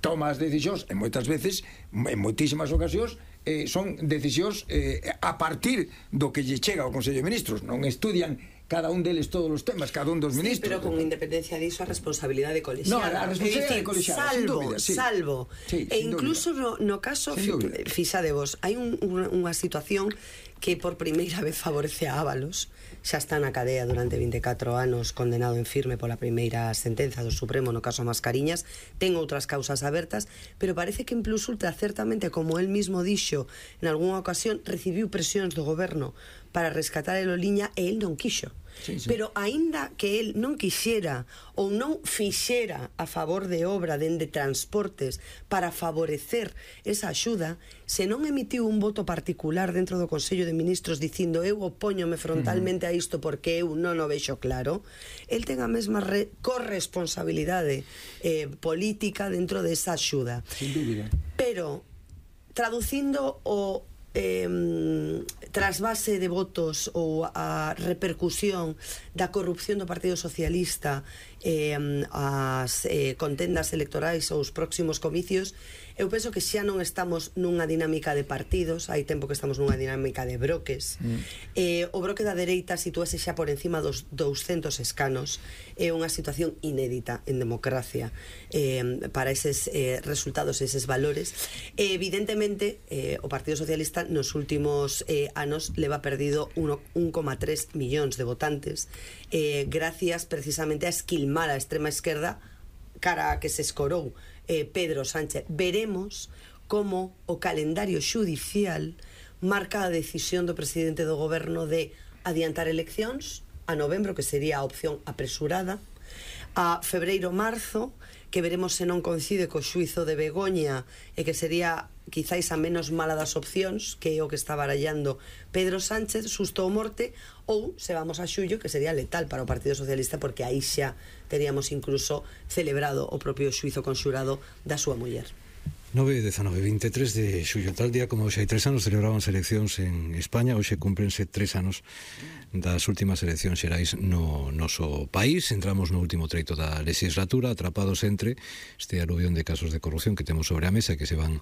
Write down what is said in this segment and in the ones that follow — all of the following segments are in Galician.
toma as decisións, e moitas veces, en moitísimas ocasións, son decisións a partir do que lle chega ao Consello de Ministros. Non estudian cada un deles todos os temas, cada un dos ministros. Sí, pero con independencia diso a responsabilidade colexial. No, a responsabilidade colexial, sin dúbida, sí. Salvo. Sí, e incluso no caso, fixadevos, hai unha situación que por primeira vez favorece a Ábalos, xa está na cadea durante 24 anos condenado en firme pola primeira sentenza do Supremo no caso Mascariñas, ten outras causas abertas, pero parece que en Plus Ultra certamente, como el mismo dixo en algunha ocasión, recibiu presións do goberno para rescatar el Oliña e el non quixo. Sí. Pero aínda que el non quixera ou non fixera a favor de obra dende transportes para favorecer esa axuda, se non emitiu un voto particular dentro do Consello de Ministros dicindo eu opóñome frontalmente a isto porque eu non o vexo claro, el ten a mesma corresponsabilidade política dentro desa axuda. Sin dúbida. Pero traducindo o trasvase de votos ou a repercusión da corrupción do Partido Socialista as contendas electorais ou os próximos comicios, eu penso que xa non estamos nunha dinámica de partidos, hai tempo que estamos nunha dinámica de bloques. O bloque da dereita sitúase xa por encima dos 200 escanos, é unha situación inédita en democracia para eses resultados, eses valores. Evidentemente o Partido Socialista nos últimos anos leva perdido 1,3 millóns de votantes gracias precisamente a esquilmar a extrema esquerda cara a que se escorou Pedro Sánchez. Veremos como o calendario xudicial marca a decisión do presidente do goberno de adiantar eleccións a novembro, que sería a opción apresurada, a febreiro-marzo, que veremos se non coincide co xuizo de Begoña e que sería quizáis a menos mala das opcións, que é o que está barallando Pedro Sánchez, susto ou morte, ou se vamos a xullo, que sería letal para o Partido Socialista, porque aí xa teríamos incluso celebrado o propio xuizo conxurado da súa muller. 9, 19, 23 de xullo, tal día como hoxe hai 3 anos celebraban eleccións en España, hoxe cúmplense 3 anos das últimas eleccións xerais no noso país. Entramos no último treito da legislatura, atrapados entre este aluvión de casos de corrupción que temos sobre a mesa, que se van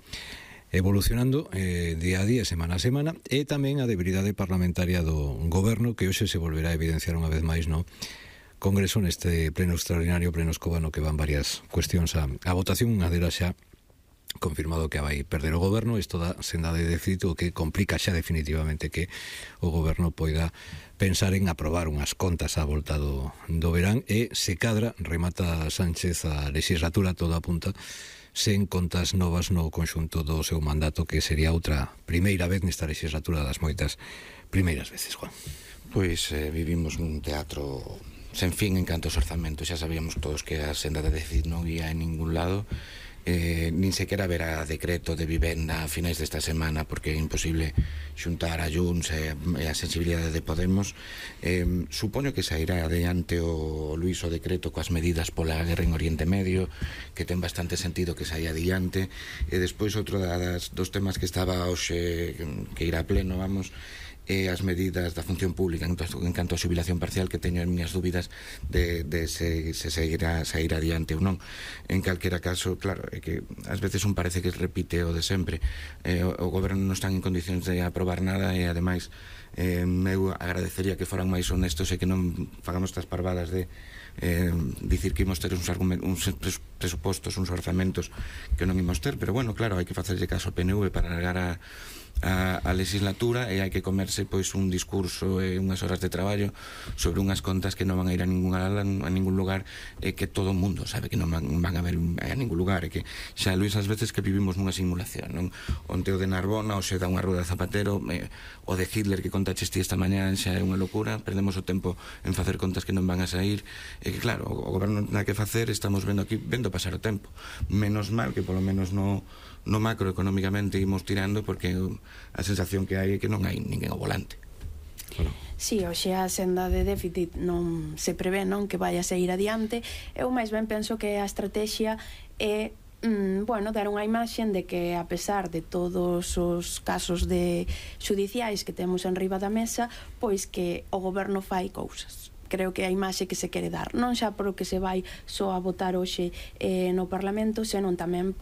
evolucionando día a día, semana a semana, e tamén a debilidade parlamentaria do goberno, que hoxe se volverá a evidenciar unha vez máis no Congreso, neste pleno extraordinario, pleno escobano, que van varias cuestións a votación. Unha delas xa confirmado que vai perder o goberno, isto da senda de déficit, o que complica xa definitivamente que o goberno poida pensar en aprobar unhas contas á volta do verán, e se cadra remata Sánchez a legislatura, toda apunta, sen contas novas no conxunto do seu mandato, que sería outra primeira vez nesta legislatura das moitas primeiras veces, Juan. Pois vivimos nun teatro sen fin en canto aos orzamentos. Xa sabíamos todos que a senda de déficit non ia en ningún lado, nin sequera haberá decreto de vivenda a finais desta semana, porque é imposible xuntar a Junts e a sensibilidade de Podemos. Supoño que sairá adiante o Luís o decreto coas medidas pola guerra en Oriente Medio, que ten bastante sentido que saia adiante, e despois outro dos temas que estaba hoxe, que irá a pleno, vamos, e as medidas da función pública en canto a xubilación parcial, que teño as miñas dúbidas de se seguirá sair adiante ou non. En calquera caso, claro, é que ás veces un parece que repite o de sempre. O goberno non está en condicións de aprobar nada, e ademais eu agradecería que foran máis honestos e que non fagamos estas parvadas de dicir que imos ter uns presupostos, uns orzamentos que non imos ter, pero bueno, claro, hai que facerlle caso ao PNV para largar a legislatura, e hai que comerse pois un discurso e unhas horas de traballo sobre unhas contas que non van a ir a ningún lugar, e que todo o mundo sabe que non van a ver a ningún lugar, e que xa, Luís, ás veces que vivimos nunha simulación, non? Onte o de Narbona, o se dá unha rueda de Zapatero, o de Hitler que contaches ti esta mañá, xa é unha locura. Perdemos o tempo en facer contas que non van a sair, e que claro, o goberno non hai que facer, estamos vendo aquí, vendo pasar o tempo. Menos mal que polo menos no macroeconómicamente imos tirando, porque a sensación que hai é que non hai ninguén ao volante. Si, hoxe a senda de déficit non se prevé, non, que vai a seguir adiante. Eu máis ben penso que a estrategia é dar unha imaxen de que, a pesar de todos os casos de xudiciais que temos en riba da mesa, pois que o goberno fai cousas. Creo que a imaxe que se quere dar, non xa por o que se vai só a votar hoxe no Parlamento, senón tamén